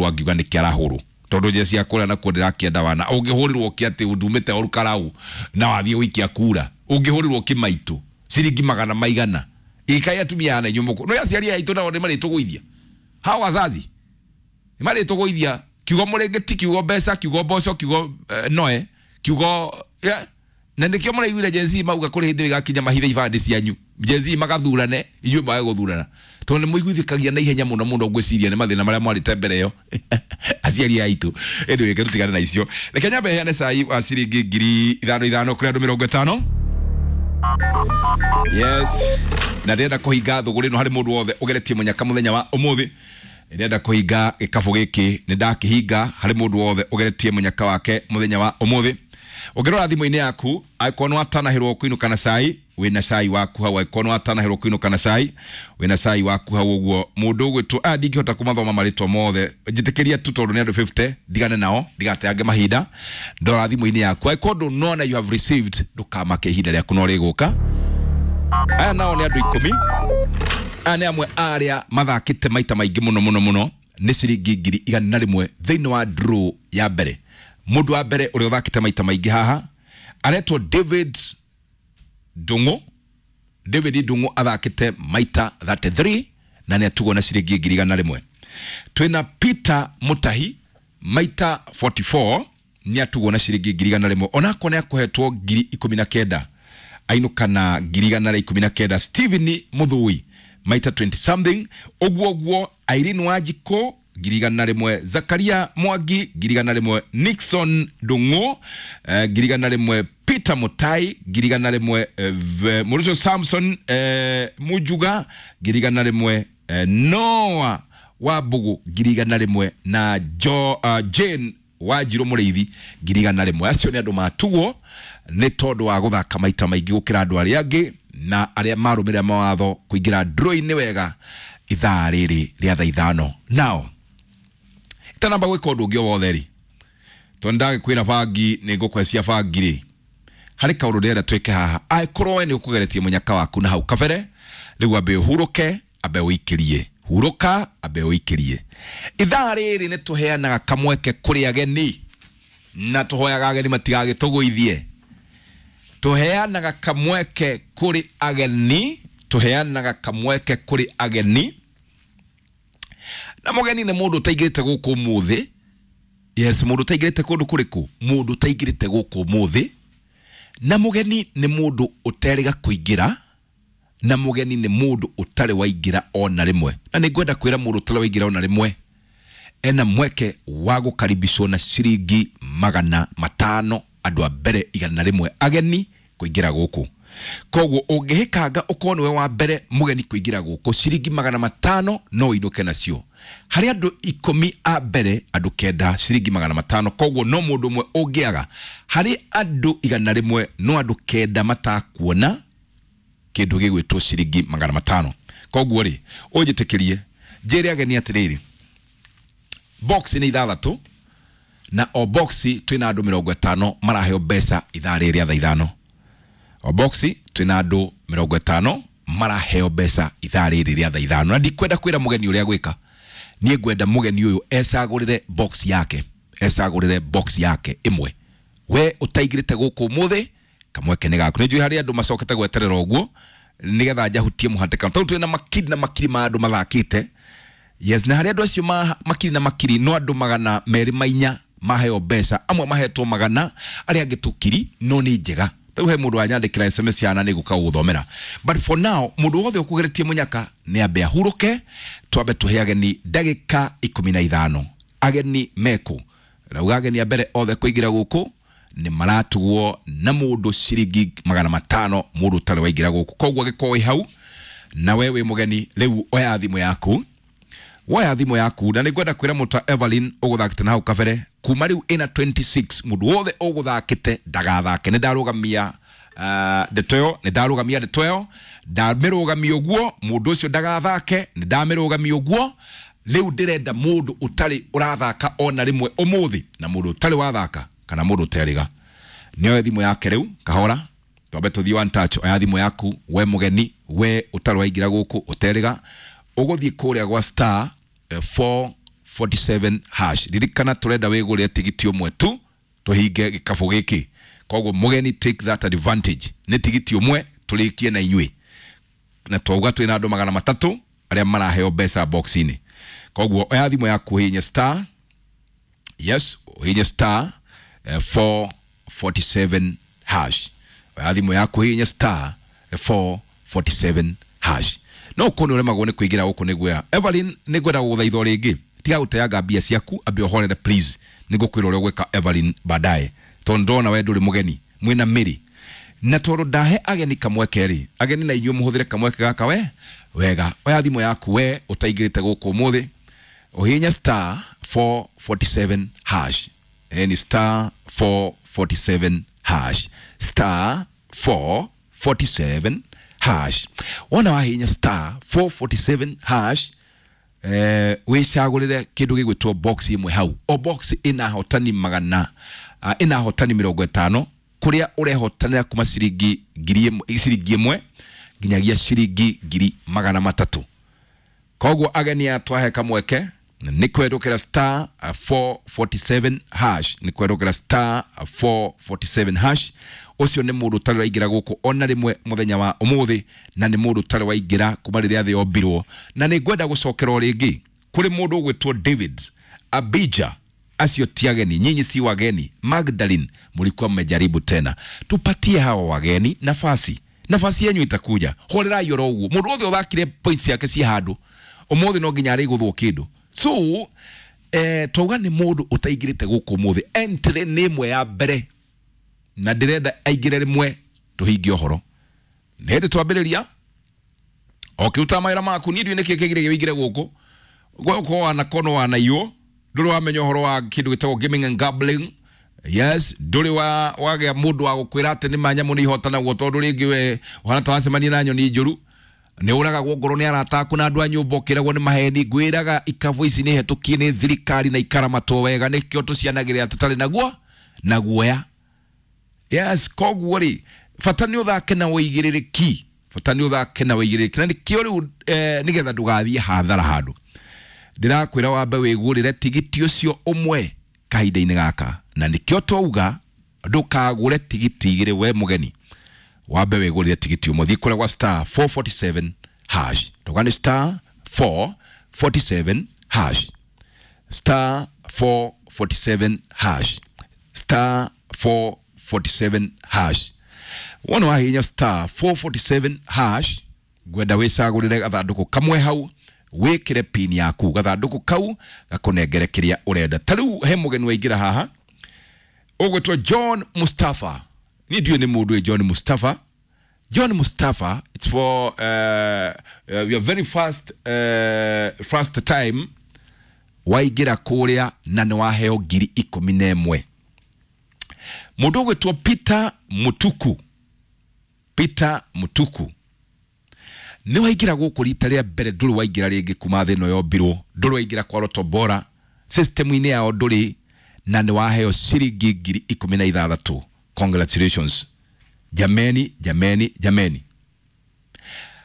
Angiuga nä kä arahå tondå nje cia kå rä a nakuo ndä rakĩenda wana å ngä hå rä rwo kä atä ndumä te orukarau na wathiä gå ikia kura å ngä hå rä rwo kä maitå ciringi magana maigana ikai atumia ana inyuĩ mũkũ no aciari aitũ nao nĩ marĩtũgũithia hao wazazi nĩ marĩtũgũithia kiugo mũrĩngĩti, kiugo mbeca, kiugo mboco, kiugo noe kiugo yeah. Na nĩkĩo mũraiguire Gen Z mauga kũrĩ hĩndĩ ĩgakinya mahithe ibandĩ cianyu, Gen Z magathurane, inyuĩ mwage gũthurana tondũ nĩ mũiguithĩkagia na ihenya mũno mũno. Ngwĩciria nĩ mathĩna marĩa mwarĩte mbere ĩyo aciari aitũ. Ĩndĩ reke tũtigane na icio, reke nyambe heane cai wa ciringi 5,000 5,000 kũrĩ andũ 50. Yes, na ndĩrenda kũhinga thũgũrĩ ĩno harĩ mũndũ wothe ũgeretie mũnyaka mũthenya wa ũmũthĩ. Ndĩrenda kũhinga gĩkabũ gĩkĩ, nĩ ndakĩhinga harĩ mũndũ wothe ũgeretie mũnyaka wake mũthenya wa ũmũthĩ. Ũngĩrora thimũ-inĩ yaku, angĩkorwo nĩ watanahĩrwo kũinũka na cai, wĩna cai waku hau. Angĩkorwo nĩ watanahĩrwo kũinũka na cai, wĩna cai waku hau. Ũguo mũndũ ũgwĩtwo aya, ndingĩhota kũmathoma marĩtwa mothe, njĩtĩkĩria tu tondũ nĩ andũ 50, ndigane nao ndigateange mahinda. Ndora thimũ-inĩ yaku, angĩkorwo ndũnona you have received, ndũkamake, ihinda rĩaku no rĩgũka. Aya nao nĩ andũ 10. Aya nĩ amwe arĩa mathakĩte maita maingĩ mũno mũno mũno, nĩ ciringi 100,000 thĩinĩ wa draw ya mbere. Mũndũ wa mbere ũrĩa ũthakĩte maita maingĩ haha aretwo David Ndung'u. David Ndung'u athakĩte maita 33 na nĩ atugwo na ciringi 100,000. Twĩna Peter Mutahi, maita 44, nĩ atugwo na ciringi 100,000, onako nĩ akũhetwo 19,000, ainũka na 119,000. Steven Muthui, maita 20 something, ũguo ũguo. Irene Wanjikũ, 100,000. Zakaria Mwangi, 100,000. Nixon Ndung'u, 100,000. Peter Mutai, 100,000. Mũrũcio Samson Mujuga, 100,000. Noah Wambugu, 100,000, na Jane Wanjirũ Mũrĩithi, 100,000. Acio nĩ andũ matugwo nĩ tondũ wa gũthaka maita maingĩ gũkĩra andũ arĩa angĩ na arĩa marũmĩrĩra mawatho kũingĩra draw-inĩ wega ithaa rĩrĩ rĩa thaa 5. Nao itanamba gwĩka ũndũ ũngĩ o wothe rĩ, tondũ ndagĩkwĩra bangi nĩ ngũkwecia bangi rĩ, harĩ kaũndũ ndĩrenda twĩke haha. Angĩkorwo we nĩ ũkũgeretie mũnyaka waku na hau kabere, rĩu ambe ũhurũke, ambe ũikĩrie, hurũka, ambe ũikĩrie. Ithaa rĩrĩ nĩ tũheanaga kamweke kũrĩ ageni na tũhoyaga ageni matigagĩtũgũithie. Tũheanaga kamweke kũrĩ ageni, tũheanaga kamweke kũrĩ ageni, na mũgeni nĩ mũndũ ũtaingĩrĩte gũkũ ũmũthĩ. Yes, mũndũ ũtaingĩrĩte kũndũ kũrĩkũ, mũndũ ũtaingĩrĩte gũkũ ũmũthĩ. Na mũgeni nĩ mũndũ ũterĩga kũingĩra, na mũgeni nĩ mũndũ ũtarĩ waingĩra ona rĩmwe. Na nĩ ngwenda kwĩra mũndũ ũtarĩ waingĩra ona rĩmwe ena mweke wa gũkaribicwo na ciringi 500, andũ a mbere 100 ageni kũingĩra gũkũ. Koguo ũngĩhĩkanga ũkorwo nĩwe wa mbere mũgeni kũingĩra gũkũ, ciringi 500 no ũinũke nacio. Harĩ andũ 10 a mbere, andũ 9, ciringi 500. Koguo no mũndũ ũmwe ũngĩaga harĩ andũ 100, no andũ 9 matakuona kĩndũ gĩgwĩtwo ciringi 500. Koguo rĩ, ũnjĩtĩkĩrie njĩre ageni atĩrĩrĩ, box nĩ 6, na o box twĩna andũ 50 maraheo mbeca ithaa rĩrĩ rĩa thaa 5. O box twĩna andũ 50 maraheo mbeca ithaa rĩrĩ rĩa thaa 5. Na ndikwenda kwĩra mũgeni ũrĩa gwĩka, niĩ ngwenda mũgeni ũyũ ecagũrĩre box yake, ecagũrĩre box yake ĩmwe. We ũtaingĩrĩte gũkũ ũmũthĩ, kamweke nĩ gaku. Nĩ njũĩ harĩ andũ macokete gweterera ũguo nĩgetha njahutie mũhatĩkano, tondũ twĩna makiri na makiri ma andũ mathakĩte. Yes, na harĩ andũ acio makiri na makiri, no andũ 204 maheo mbeca, amwe mahetwo 100, arĩa angĩ tũkiri, no nĩ njega. Rĩu he mũndũ wanyandĩkĩra SMS yana, nĩ gũka gũthomera, but for now mũndũ wothe ũkũgeretie mũnyaka nĩ ambe ahurũke, twambe tũhe ageni ndagĩka 15. Ageni mekũ rauga, ageni a mbere othe kũingĩra gũkũ nĩ maratugwo na mũndũ ciringi 500, mũndũ ũtarĩ waingĩra gũkũ. Koguo angĩkorwo wĩ hau na we wĩ mũgeni rĩu, oya thimũ yaku, woya thimũ yaku. Na nĩ ngwenda kwĩra mũta Evelyn ũgũthakĩte na hau kabere, kuma rĩu ĩna 26, mũndũ wothe ũgũthakĩte ndagathake. Nĩ ndarũgamia ndeto ĩyo, nĩ ndarũgamia ndeto ĩyo, ndamĩrũgamia ũguo, mũndũ ũcio ndagathake, nĩ ndamĩrũgamia ũguo. Rĩu ndĩrenda mũndũ ũtarĩ ũrathaka ona rĩmwe ũmũthĩ, na mũndũ ũtarĩ wathaka kana mũndũ ũterĩga nĩoe thimũ yake rĩu kahora, twambe tũthiĩ one touch. Oya thimũ yaku, we mũgeni, we ũtarĩ waingĩra gũkũ, ũterĩga, ũgũthiĩ kũrĩa gwa star 4 447 hash. Ririkana turenda wigurire tigiti umwe tu tuhinge gikabu giki. Koguo mugeni, take that advantage. Ni tigiti umwe turikie na inyui, na twauga twina andu 300 aria maraheo mbeca box-ini. Koguo oya thimu yaku hinya star, yes, hinya star 447 hash. Oya thimu yaku hinya star 447 hash. No ukorwo nĩ ũremagwo nĩ kũingĩra gũkũ nĩ guoya, Evelyn, nĩ ngwenda gũgũthaitha o rĩngĩ, tiga gũteanga mbia ciaku, ambe ũhorere please. Nĩ ngũkwĩra ũrĩa ũgwĩka, Evelyn, baadaye, tondũ ndona we ndũrĩ mũgeni mwĩna mĩrĩ, na tondũ ndahe ageni kamweke rĩ, ageni na inyuĩ mũhũthĩre kamweke gaka we wega. Oya thimũ yaku we ũtaingĩrĩte gũkũ ũmũthĩ, ũhihinye star 447 hash. Ni star 447 hash, star 447 hash. Wona wahihinya star 447 hash, wicagũrĩre kĩndũ gĩgwĩtwo box ĩmwe hau. O box ĩna ahotani magana, ĩna ahotani 50, kũrĩa ũrehotanĩra kuma ciringi 1000, ciringi 1 nginyagia ciringi 300,000. Koguo ageni aya twahe kamweke nĩ kwendũkĩra star 447 hash, nĩ kwendũkĩra star 447 hash. Ũcio nĩ mũndũ ũtarĩ waingĩra gũkũ ona rĩmwe mũthenya wa ũmũthĩ, na nĩ mũndũ ũtarĩ waingĩra kuma rĩrĩa thĩ yombirwo. Na nĩ ngwenda gũcokera o rĩngĩ kũrĩ mũndũ ũgwĩtwo David Abija. Acio ti ageni, nyinyi si wageni. Magdalene, mlikuwa mmejaribu tena, tupatie hawa wageni nafasi, nafasi yenyu itakuja. Horerai oro ũguo, mũndũ wothe ũthakire points yake ci handũ ũmũthĩ no nginya arĩgũthwo kĩndũ. So twauga nĩ mũndũ ũtaingĩrĩte gũkũ ũmũthĩ, entry nĩ ĩmwe ya mbere, na ndĩrenda aingĩre rĩmwe tũhingie ũhoro. Nĩ hĩndĩ twambĩrĩria ũkĩruta mawĩra maku, niĩ ndiũĩ nĩkĩ kĩgirĩtie wĩingĩre gũkũ gũkũ, wanakorwo wanaiywo, ndũrĩ wamenya ũhoro wa kĩndũ gĩtagwo gaming and gambling. Yes, ndũrĩ wa wagĩa mũndũ wa gũkwĩra atĩ nĩ ma nyamũ nĩ ihotanagwo, tondũ rĩngĩ we ũhana ta wacemania na nyoni njũru, nĩ ũragagwo ngoro nĩ arata aku na andũ a nyũmba, ũkĩragwo nĩ maheni. Ngwĩraga ikabu ici nĩ hetũkie nĩ thirikari na ikaramatwo wega, nĩkĩo tũcianagĩrĩra tũtarĩ naguo na guoya. Yes, koguo rĩ, bata nĩ ũthake na ũigĩrĩrĩki, bata nĩ ũthake na ũigĩrĩrĩki, na nĩkĩo rĩu nĩgetha ndũgathiĩ hathara handũ. Ndĩrakwĩra wambe wĩgũrĩre tigiti ũcio ũmwe kahinda-inĩ gaka, na nĩkĩo twauga ndũkagũre tigiti igĩrĩ we mũgeni, wambe wĩgũrĩre tigiti ũmwe. Thiĩ kũrĩa gwa star 447 hash, ndauga nĩ star 447 hash, star 447 hash, star 447 hash. Wona wahihinya star 447 hash, ngwenda wĩcagũrĩre gathandũkũ kamwe hau, wĩkĩre pin yaku, gathandũkũ kau gakũnengere kĩrĩa ũrenda. Ta rĩu he mũgeni waingĩra haha ũgwĩtwo John Mustafa. Niĩ ndiũĩ nĩ mũndũ wĩ John Mustafa. John Mustafa, it's for your very first time waingĩra kũrĩa, na nĩ waheo 11,000. Mũndũ ũgwĩtwo Peter Mutuku, Peter Mutuku, nĩ waingĩra gũkũ rita rĩa mbere, ndũrĩ waingĩra rĩngĩ kuma thĩ ĩno yombirwo, ndũrĩ waingĩra kwa Lotto Bora system-inĩ yao ndũrĩ, na nĩ waheo ciringi 16,000. Congratulations jameni, jameni, jameni.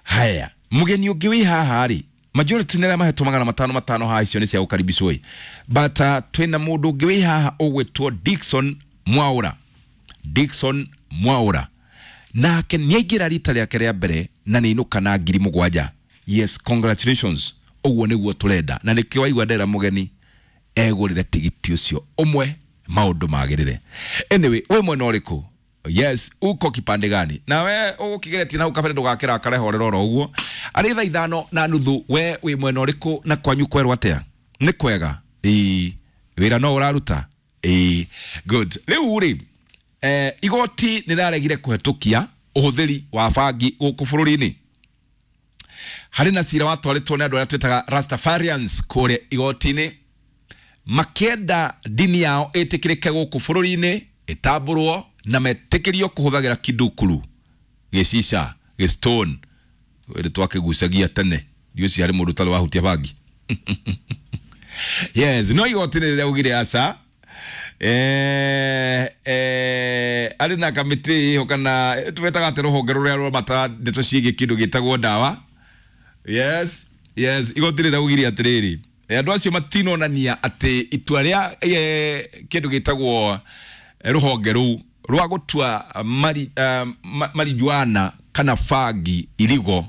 Haya, mũgeni ũngĩ wĩ haha rĩ, majority nĩ arĩa mahetwo 500 500 haha, icio nĩ cia gũkaribicwo ĩ, but twĩna mũndũ ũngĩ wĩ haha ũgwĩtwo Dickson Mwaura. Dickson Mwaura nake nĩ aingĩra rita rĩake rĩa mbere na nĩ inũka na 7,000. Yes, congratulations. Ũguo nĩguo tũrenda, na nĩkĩo waigua ndera mũgeni egũrĩre tigiti ũcio ũmwe, maũndũ magĩrĩre. Anyway, wĩ mwena ũrĩkũ? Yes, uko kipande gani? Na we ũgũkĩgeretie na hau kabere, ndũgakĩrakare, horera oro ũguo. Arĩ thaa 5:30, we wĩ mwena ũrĩkũ na kwanyu kwerwo atĩa? Nĩ kwega? Ĩĩ, wĩra no ũraruta? Ĩĩ, good. Rĩu rĩ, igoti nĩ rĩraregire kũhetũkia ũhũthĩri wa bangi gũkũ bũrũri-inĩ. Harĩ na cira watwarĩtwo nĩ andũ arĩa twĩtaga Rastafarians kũrĩa igoti-inĩ, makĩenda ndini yao ĩtĩkĩrĩke gũkũ bũrũri-inĩ, ĩtambũrwo na metĩkĩrio kũhũthagĩra kidukuru, gĩcica, gĩstone, ĩrĩ twakĩgucagia tene. Ndiũĩ harĩ mũndũ ũtarĩ wahutia bangi. Yes, no igoti nĩ rĩraugire aca. Arĩ na kamĩtĩ ĩho, kana twetaga atĩ rũhonge rũrĩa rũramata ndeto ciĩgiĩ kĩndũ gĩtagwo ndawa. Yes, yes, igoti rĩraugire atĩrĩrĩ, Andũ acio matinonania atĩ itua rĩa kĩndũ gĩtagwo rũhonge rũu rwa gũtua marijuana kana bangi irigo.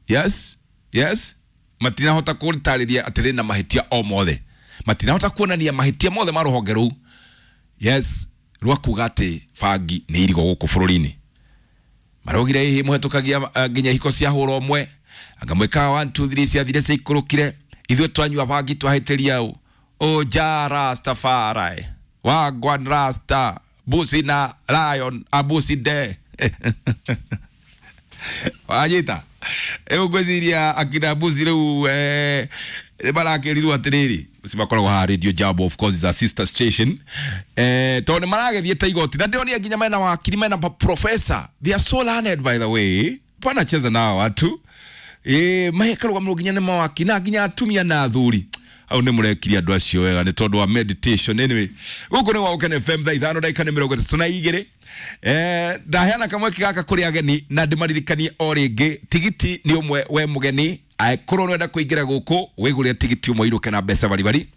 Yes, yes, matinahota kũtarĩria atĩ rĩna mahĩtia o mothe, matinahota kuonania mahĩtia mothe ma rũhonge rũu, yes, rwa kuga atĩ bangi nĩ irigo gũkũ bũrũri-inĩ. Maraugire hihi mũhetũkagia nginya ihiko cia hũra ũmwe, anga mwĩkaga 1 2 3 ciathire ciaikũrũkire, ithuĩ twanyua bangi twahĩtĩria ũ ũja Rastafari wagwan rasta busi na lion abusi de wanyita rĩu ngwĩciria akina busi rĩu nĩ marakĩrirwo atĩrĩrĩ, ũcio makoragwo haha Radio Jambo, of course is a sister station, tondũ nĩ maragĩthiĩte igoti na ndĩronire nginya mena wakiri, mena professor, they are so learned by the way, panacheza nao watu makarũgamĩrwo nginya nĩ mawakiri na nginya atumia na athuri. Hau nĩ mũrekirie andũ acio wega nĩ tondũ wa meditation. Anyway, gũkũ nĩ gwa Gũkena FM thaa 5 ndagĩka nĩ 32. Ndaheana kamweke gaka kũrĩ ageni na ndĩmaririkanie o rĩngĩ tigiti nĩ ũmwe we mũgeni, angĩkorwo nĩwenda kũingĩra gũkũ wĩgũrĩre tigiti ũmwe irũke na mbeca baribari,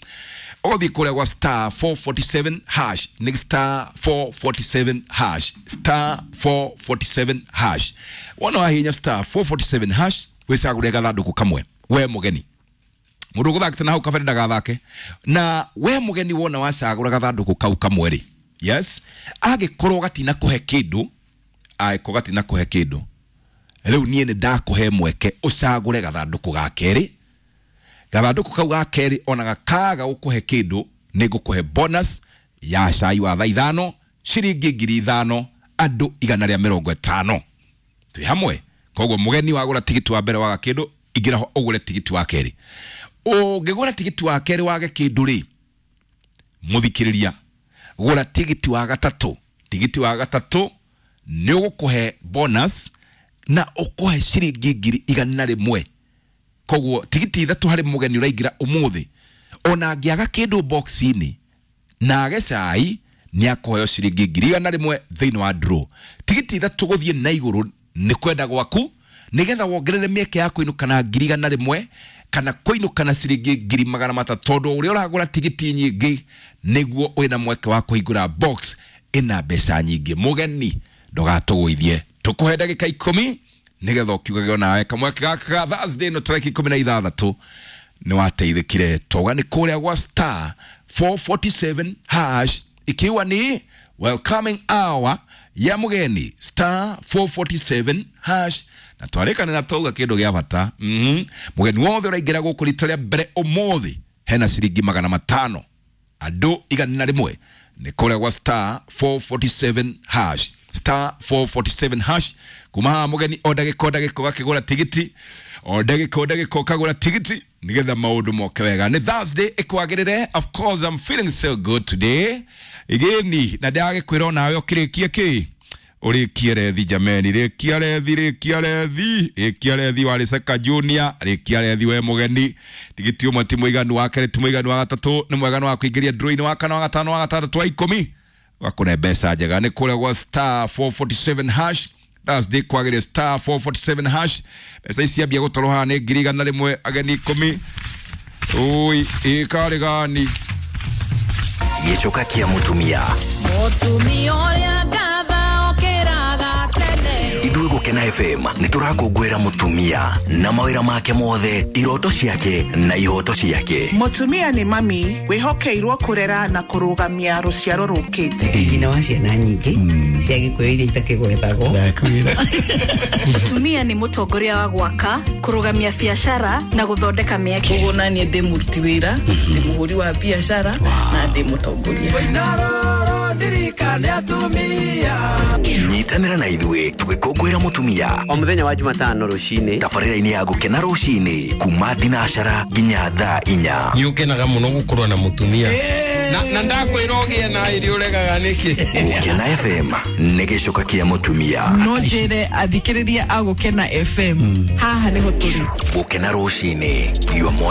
ũgũthiĩ kũrĩa gwa star 447 hash, nĩ star 447 hash, star 447 hash. Wona wahihinya star 447 hash wĩcagũre gathandũkũ kamwe we mũgeni. Mũndũ ũgũthakĩte na hau kabere ndagathake. Na we mũgeni wona wacagũra gathandũkũ kau kamwe rĩ, yes, angĩkorwo gatina kũhe kĩndũ, angĩkorwo gatina kũhe kĩndũ, rĩu niĩ nĩ ndakũhe mweke ũcagũre gathandũkũ ga kerĩ. Gathandũkũ kau ga kerĩ ona gakaga gũkũhe kĩndũ, nĩ ngũkũhe bonus ya cai wa thaa 5 ciringi 5,000 andũ 150. Twĩ hamwe. Koguo mũgeni wagũra tigiti wa mbere waga kĩndũ, ingĩra ho ũgũre tigiti wa kerĩ. Ũngĩgũra tigiti wa kerĩ wage kĩndũ rĩ, mũthikĩrĩria, gũra tigiti wa gatatũ. Tigiti wa gatatũ nĩ ũgũkũhe bonus na ũkũhe ciringi 100,000. Koguo tigiti 3 harĩ mũgeni ũraingĩra ũmũthĩ, ona angĩaga kĩndũ box-inĩ na age cai, nĩ akũheo ciringi 100,000 thĩinĩ wa draw. Tigiti 3 gũthiĩ na igũrũ nĩ kwenda gwaku, nĩgetha wongerere mĩeke ya kũinũka na 100,000 kana kũinũka na ciringi 300,000, tondũ ũrĩa ũragũra tigiti nyingĩ nĩguo wĩna mweke wa kũhingũra box ĩna mbeca nyingĩ. Mũgeni ndũgatũgũithie, tũkũhe ndagĩka 10 nĩgetha ũkiugage onawe kamweke gaka ga Thursday no tarĩki 16 nĩ wateithĩkire. Toga nĩ kũrĩa gwa star 447 hash, ikiwa ni welcoming hour ya mũgeni star 447 hash. Na twarĩkana na tauga kĩndũ gĩa bata. Mũgeni wothe ũraingĩra gũkũ rita rĩa mbere ũmũthĩ hena ciringi 500 andũ 101 nĩ kũrĩa gwa star 447 hash, star 447 hash. Kuma haha mũgeni o ndagĩka o ndagĩka ũgakĩgũra tigiti, o ndagĩka o ndagĩka ũkagũra tigiti nĩgetha maũndũ moke wega. Nĩ Thursday ĩkwagĩrĩre, of course I'm feeling so good today igĩni, na ndĩragĩkwĩra onawe ũkĩrĩkie kĩ ũrĩkie rethi jameni, rĩkia rethi, rĩkia rethi, rĩkia rethi wa Rĩceka Junior, rĩkia rethi we mũgeni. Tigiti ũmwe ti mũiganu, wa kerĩ ti mũiganu, wa gatatũ nĩ mweganu wa kũingĩria draw-inĩ, wa kana, wa gatano, wa gatandatũ, wa 10 wakũne mbeca njega. Nĩ kũrĩa gwa star 447 hash. Thursday kwagĩrĩire star 447 hash. Mbeca ici ciambia gũtwarwo haha nĩ 100,000 ageni 10. Ui, ĩkarĩ gani Gĩcoka kĩa mũtumia. Mũtumia ũrĩa ngatha okĩraga tene. Ithuĩ Gũkena FM nĩ tũrakũngũĩra mũtumia na mawĩra make mothe, iroto ciake na ihoto ciake. Mũtumia nĩ mami wĩhokeirwo kũrera na kũrũgamia rũciaro rũkĩte. Nyina wa ciana nyingĩ cia Gĩkũyũ iria itakĩgwetagwo. Mũtumia nĩ mũtongoria wa gwaka, kũrũgamia biacara na gũthondeka mĩeke. Koguo naniĩ ndĩ mũruti wĩra, ndĩ mũhũri wa biacara na ndĩ mũtongoria. Nyitanĩra na ithuĩ tũgĩkũngũĩra mũtumia o mũthenya wa Jumatano rũcinĩ, tabarĩra-inĩ ya Gũkena rũcinĩ kuma thinacara nginya thaa 4. Nĩ ũkenaga mũno gũkorwo na mũtumia na ndakwĩra ũgĩe na irio ũregaga nĩkĩ. Gũkena FM nĩ gĩcoka kĩa mũtumia. No njĩre athikĩrĩria a Gũkena FM haha nĩho tũrĩ. Gũkena rũcinĩ, your